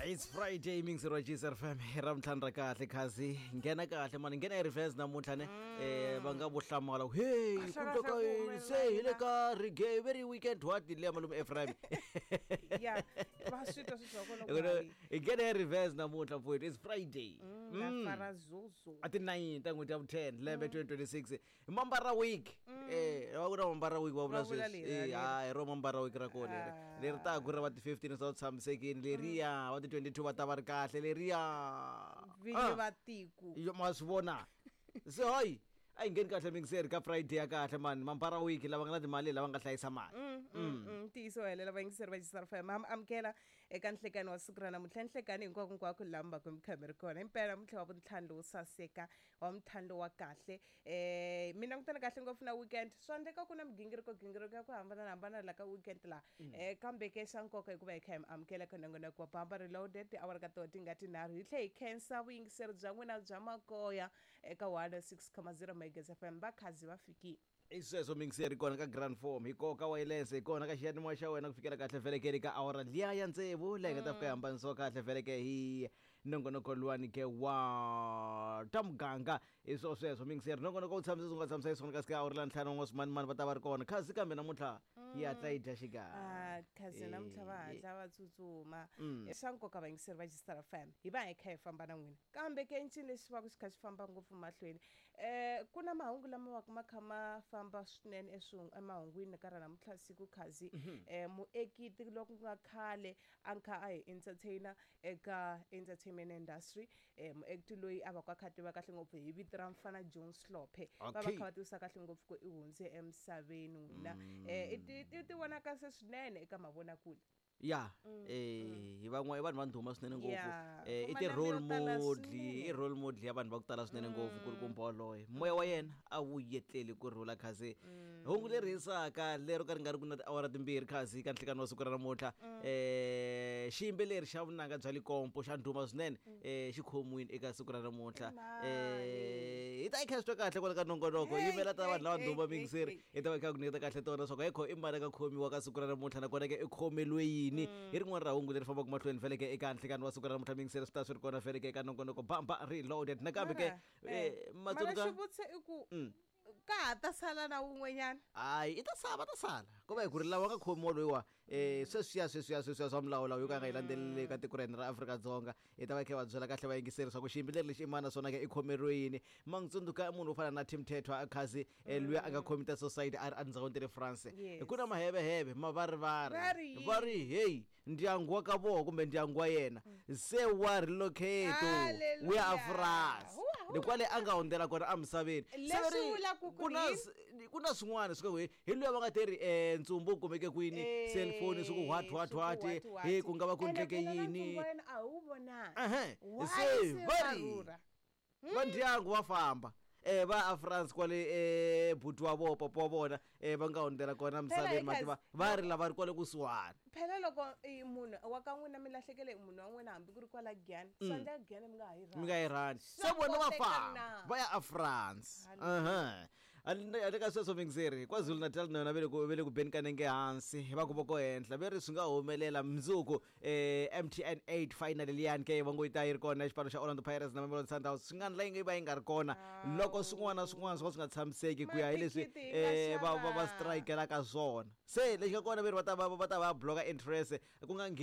It's Friday mixer wa GSR FM hi ra vutlhanu ra kahle khazi nghena kahle mani nghena hi reverse namuntlha ne va nga vo hlamala ku hey ku Kahle, ndleka kahle, ku yini humelela se hi le yini? ka reggae very weekend what leya malume Ephraim Ya va swi twa swi twa kona ku hayi. hi nghena hi reverse namuntlha mfowethu, it's Friday. Na fara zuzu. A ti 9 ta n'hweti ya vu-10 lembe 2026, mambara week, va ku na mambara week va vula Va vula sweswi. leri, leri. Hayi ro mambara week ra kona leri leri ta ku ri va ti 15 swa tshamisekini leriya, va ti 22 va ta va ri kahle leriya. Vinyi va tiko. Yo, ma swi vona se hayi a yi ngheni kahle mingiseri ka Friday ya kahle mani, mambara week, lava nga na timali, lava nga hlayisa mali. Ntiyiso helela vayingiseri va Gisar FM, ha mi amukela eka nhlekani wa siku ra namuntlha, nhlekani hinkwako hinkwako laha mi va ku mi kha mi ri kona. Impela namuntlha wa vuntlhanu lowu saseka, wa muntlhanu lowu wa kahle, mi langutana kahle ngopfu na weekend. Swa endleka ku na migingiriko gingiriko ya ku hambanahambana la ka weekend laha, kambe ke xa nkoka hikuva hi kha hi mi amukela ka nongonoko wa Bamba Reloaded, tiawara ka toho ti nga tinharhu. Hi tlhe hi khensa vuyingiseri bya n'wina bya makoya eka 106,0 Megas FM. Vakhazi va fikile. I sweswo mingiseri, kona ka Grand Form, hi koka wireless, hi kona ka xiyanimoya xa wena ku fikela kahle velekeni ka awara liya ya tsevu, leyi nga ta fika yi hambanisiwa kahle veleke hi nongonoko luwani ke wa ta muganga. Hi swo sweswo mingiseri, nongonoko wu tshamisa swi nga tshamisa hi swona kasi ka awara la ntlhanu wa swimanimani va ta va ri kona khazi, kambe namuntlha yi hatla yi dya xikarhi. Ah, khazi namuntlha va hatla va tsutsuma. Swa nkoka vayingiseri va Gistar FM, hi va hi kha hi famba na n'wina, kambe ke ncini lexi va ku xi kha xi famba ngopfu mahlweni, ku na mahungu lama va ku ma kha ma famba swinene emahungwini ka ra namuntlha siku khazi. Muekiti loko ku nga khale a kha a hi entertainer eka entertainment industry, muekiti loyi a va ku a kha a tiva kahle ngopfu hi vito ra Mfana John Slope, va va kha va tivisa kahle ngopfu ku i hundze emisaveni n'wina. I ti vonaka se swinene eka mavonakule. Ya, hi van'wana i vanhu va ndhuma swinene ngopfu. I Kuma ti-role lembe yo tala model, swinene. i role model ya vanhu va ku tala swinene ngopfu kulukumba waloye, moya wa yena a wu yetleli ku rhula khazi. Hungu leri hisaka lero ka ri nga ri ku na tiawara timbirhi khazi ka nhlekani wa siku ra namuntlha, xiyimbeleri xa vunanga bya Likompo xa ndhuma swinene, xi khomiwile eka siku ra namuntlha. Hi ta yi kha swi twa kahle kwala ka nongonoko. Hey, yimela ta hey, vanhu lava hey, ndhuma hey, mingiseri. Hey. Hi ta va hi kha ku nyiketa kahle tona leswaku hekho i mani a nga khomiwa ka siku ra namuntlha, nakona ke i khomeliwe yini, hi rin'wana ra hungu leri fambaka mahlweni feleke eka nhlekani wa siku ra namuntlha mingiseri. Swi ta swi ri kona feleke eka nongonoko Bamba Reloaded nakambe ke. Mara, mara matsundzuka xivutiso i ku ka ha ta sala na wun'wanyana? Hayi, i ta sala, va ta sala ko va hi ku ri lava nga khomiwa loyiwa, sweswiya swa milawulawu yo ka nga yi landzeleli ka tiko ra hina ra Afrika-Dzonga. Hi ta va hi kha hi va byela kahle vayingiseri swa ku xiyimbeleri lexi i mani, naswona ke i khomeriwe yini. Ma n'wi tsundzuka munhu wo fana na Tim Tetwa khazi, luya a nga khomita society a ri endzhawini ta le France. Yes. Ku na maheveheve mavarivari. Va ri yini? Va ri heyi, ndyangu wa ka voho kumbe ndyangu wa yena se wa relocate Hallelujah. wu ya a France. Huwa, huwa. Ni kwale a nga hundzela kona emisaveni. Se Leswi va ri vulaka ku ku na ri ku na swin'wana swi ka hi luya va nga te ri ntsumbu wu kumeke kwini, cellphone swi ku what what what, he ku nga va ku Ene ndleke phela na yini. ntsumbu wa yena a wu vonangi. Ehe. Why Se se va va ri rhurha? va ndyangu va famba va a France kwale, buti wa vona, papa wa vona, va nga hundzela kona emisaveni. Phela Mativa va ri lava ri kwale kusuhani. Phela loko i munhu wa ka n'wina mi lahlekele hi munhu wa n'wina, hambi ku ri kwala Giyani, swa endleka Giyani mi nga ha yi Mi nga yi rhandi. Swa Se vona va koteka famba na? va ya a France. Aha, handle ka sweswo mingiseri, KwaZulu Natal na yona ve le ku beni ka nenge hansi, va ku voko henhla ve ri swi nga humelela mundzuku, MTN 8 final liyani ke va ngo yi ta yi ri kona, xipano xa Orlando Pirates na Mamelodi Sundowns, swi nga ndla yi nga va yi nga ri kona loko swin'wana na swin'wana swo ka swi nga tshamiseki ku ya hi leswi Mathikithi hi nga va xava. strikelaka swona. Se lexi nga kona ve ri va ta va bloka interest ku nga ngheni.